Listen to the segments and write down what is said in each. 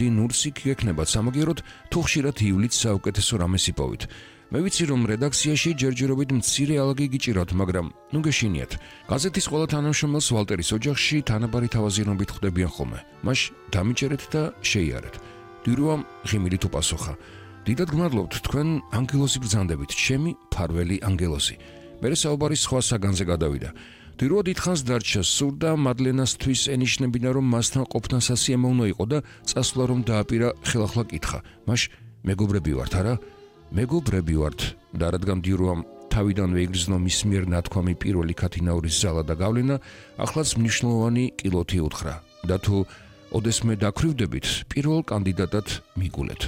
მოდი ნურს იქ გექნებათ სამაგიეროდ თუ ხშირად ივლით საუკეთესო რამეს იპოვით. მე ვიცი რომ რედაქციაში ჯერჯერობით მცირე ალაგი გიჭირავთ, მაგრამ ნუ გეშინიათ. გაზეთის ყველა თანამშრომელს ვალტერის ოჯახში თანაბარი თავაზიანობით ხვდებიან ხოლმე. მას დამიჭერეთ და შეიარეთ. დირუამ ღიმილით უპასუხა. დიდად გმადლობთ, თქვენ ანგელოზი ბრძანდებით, ჩემი ფარველი ანგელოზი. მერე საუბარი სხვა საგანზე გადავიდა. დირუა დიდხანს დარჩა, სურდა მადლენასთვის ენიშნებინა რომ მასთან ყოფნა სასიამოვნო იყო და წასვლა რომ დააპირა ხელახლა კითხა. მას მეგობრები ვართ, არა? მეგობრები ვართ და რადგან დირუამ თავიდანვე იგრძნო მის მიერ ნათქვამი პირველი ქათინაურის ზალა და გავლენა, ახლაც მნიშვნელოვანი კილოთი უთხრა და თუ ოდესმე დაქვრივდებით, პირველ კანდიდატად მიგულეთ.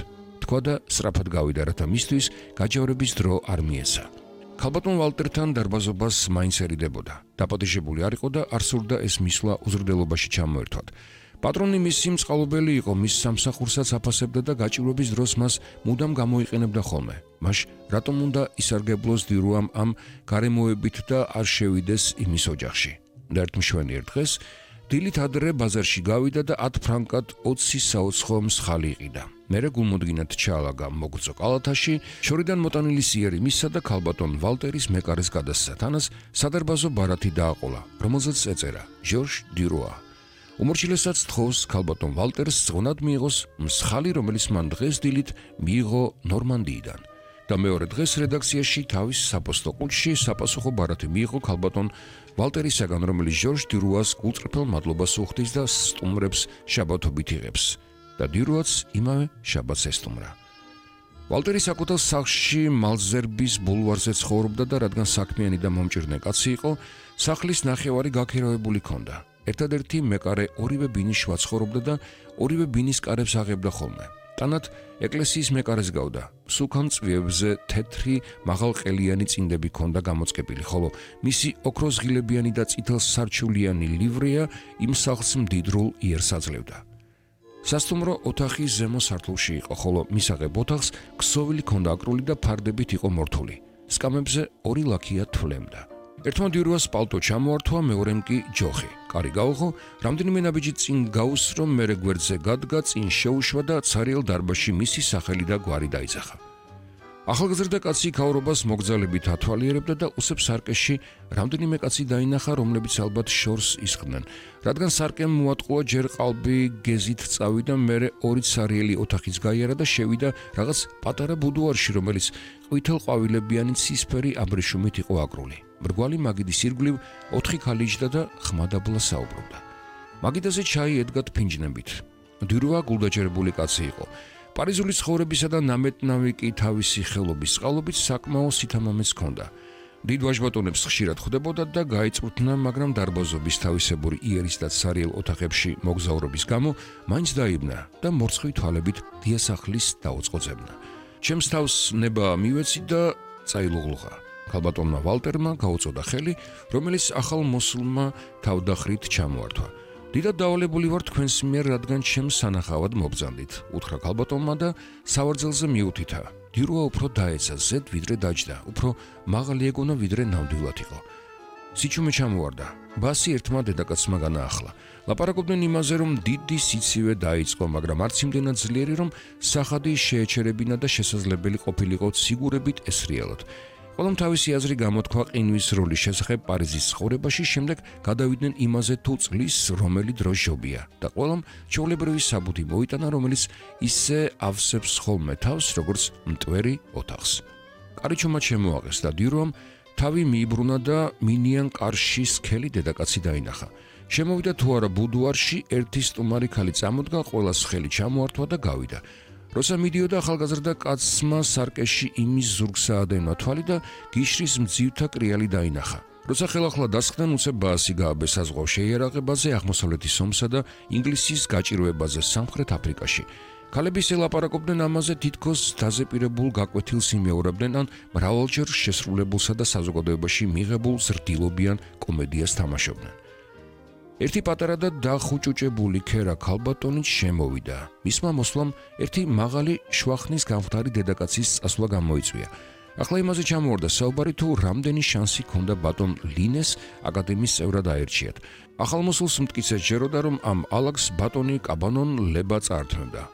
თქვა და სწრაფად გავიდა, რათა მისთვის გაჯავრების დრო არ მიეცა. ქალბატონ ვალტერთან დარბაზობას მაინც ერიდებოდა. დაპატიჟებული არ იყო და არ სურდა ეს მისვლა უზრდელობაში ჩამოერთვათ. პატრონი მისი მწყალობელი იყო, მის სამსახურსაც აფასებდა და გაჭირვების დროს მას მუდამ გამოიყენებდა ხოლმე. მას რატომ უნდა ისარგებლოს დირუამ ამ გარემოებით და არ შევიდეს იმის ოჯახში. და ერთ მშვენიერ დღეს დილით ადრე ბაზარში გავიდა და 10 ფრანკად 20 საუცხო მსხალი იყიდა. მერე გულმოდგინად ჩაალაგა მოგრძო კალათაში, შორიდან მოტანილი სიერი მისსა და ქალბატონ ვალტერის მეკარეს გადასცა. თანას სადარბაზო ბარათი დააყოლა, რომელზეც ეწერა ჟორჟ დირუა. უმორჩილესაც თხოვს ქალბატონ ვალტერს ზღონად მიიღოს მსხალი, რომელიც მან დღეს დილით მიიღო ნორმანდიიდან. და მეორე დღეს რედაქციაში თავის საპოსტო ყუთში საპასუხო ბარათი მიიღო ქალბატონ ვალტერისაგან, რომელიც ჟორჟ დირუას გულწრფელ მადლობას უხდის და სტუმრებს შაბათობით იღებს. და დირუაც იმავე შაბათს ესტუმრა. ვალტერი საკუთარ სახლში მალზერბის ბულვარზე ცხოვრობდა და რადგან საქმიანი და მომჭირნე კაცი იყო, სახლის ნახევარი გაქირავებული ჰქონდა. ერთადერთი მეკარე ორივე ბინის შუა ცხოვრობდა და ორივე ბინის კარებს აღებდა ხოლმე. ტანად ეკლესიის მეკარეს გავდა. სუქან წვიებზე თეთრი მაღალყელიანი წინდები ჰქონდა გამოწყებილი, ხოლო მისი ოქროზღილებიანი და წითელ სარჩულიანი ლივრეა იმ სახლს მდიდრულ იერს აძლევდა. სასტუმრო ოთახი ზემო სართულში იყო, ხოლო მისაღებ ოთახს ქსოვილი ჰქონდა აკრული და ფარდებით იყო მორთული. სკამებზე 2 ლაქია თვლემდა. ერთმა დირუას პალტო ჩამოართვა, მეორემ კი ჯოხი. კარი გაუღო, რამდენიმე ნაბიჯი წინ გაუსრო, მერე გვერდზე გადგა, წინ შეუშვა და ცარიელ დარბაზში მისი სახელი და გვარი დაიძახა. ახალგაზრდა კაცი ქაურობას მოგზალებით ათვალიერებდა და უსებ სარკეში რამდენიმე კაცი დაინახა, რომლებიც ალბათ შორს ისხდნენ. რადგან სარკემ მოატყუა, ჯერ ყალბი გეზით წავიდა, მერე 2 ცარიელი ოთახიც გაიარა და შევიდა რაღაც პატარა ბუდუარში, რომელიც ყვითელ ცისფერი აბრეშუმით იყო აკრული. მრგვალი მაგიდის ირგვლივ 4 ქალი იჯდა და ხმადაბლა საუბრობდა. მაგიდაზე ჩაი ედგა ფინჯნებით. დირუა გულდაჯერებული კაცი იყო. პარიზული ცხოვრებისა და ნამეტნავი კი თავისი ხელობის წყალობით საკმაო სითამამეს ჰქონდა. დიდ ვაჟბატონებს ხშირად ხვდებოდა და გაიწვრთნა, მაგრამ დარბაზობის თავისებური იერის და ცარიელ ოთახებში მოგზაურობის გამო მაინც დაიბნა და მორცხვი თვალებით დიასახლის დაუწყოძებნა. ჩემს თავს ნება მივეცი და წაილუღლუღა. ქალბატონმა ვალტერმა გაუწოდა ხელი, რომელიც ახალ მოსულმა თავდახრით ჩამოართვა. დიდად დავალებული ვარ თქვენს მიერ, რადგან ჩემს სანახავად მობრძანდით, უთხრა ქალბატონმა და სავარძელზე მიუთითა. დირუა უფრო დაეცა ზედ ვიდრე დაჯდა, უფრო მაღალი ეგონა ვიდრე ნამდვილად იყო. სიჩუმე ჩამოვარდა. ბასი ერთმა დედაკაცმა განაახლა. ლაპარაკობდნენ იმაზე, რომ დიდი სიცივე დაიწყო, მაგრამ არც იმდენად ძლიერი, რომ სახადი შეეჩერებინა და შესაძლებელი ყოფილიყო ციგურებით ესრიალოთ. ყველამ თავისი აზრი გამოთქვა ყინვის როლის შესახებ პარიზის ცხოვრებაში, შემდეგ გადავიდნენ იმაზე, თუ წლის რომელი დრო ჟობია და ყველამ ჩვეულებრივი საბუთი მოიტანა, რომელიც ისე ავსებს ხოლმე თავს, როგორც მტვერი ოთახს. კარიჩომა შემოაღეს და დირუამ თავი მიიბრუნა და მინიან კარში სქელი დედაკაცი დაინახა. შემოვიდა თუ არა ბუდუარში, ერთი სტუმარი ქალი წამოდგა, ყველას ხელი ჩამოართვა და გავიდა. როცა მიდიოდა, ახალგაზრდა კაცმა სარკეში იმის ზურგს აადენა თვალი და გიშრის მძივთა კრიალი დაინახა. როცა ხელახლა დასხდნენ, უცებ ბაასი გააბეს საზღვაო შეიარაღებაზე, აღმოსავლეთის ომსა და ინგლისის გაჭირვებაზე სამხრეთ აფრიკაში. ქალების ელაპარაკობდნენ ამაზე, თითქოს დაზეპირებულ გაკვეთილს იმეორებდნენ, ან მრავალჯერ შესრულებულსა და საზოგადოებაში მიღებულ ზრდილობიან კომედიას თამაშობდნენ. ერთი პატარა და დახუჭუჭებული ქერა ქალბატონით შემოვიდა. მისმა მოსვლამ ერთი მაღალი შვახნის გამხდარი დედაკაცის წასვლა გამოიწვია. ახლა იმაზე ჩამოვარდა საუბარი, თუ რამდენი შანსი ჰქონდა ბატონ ლინეს აკადემიის წევრად აერჩიათ. ახალმოსულს მტკიცე ჯეროდა, რომ ამ ალაგს ბატონი კაბანონ ლება წაართმევდა.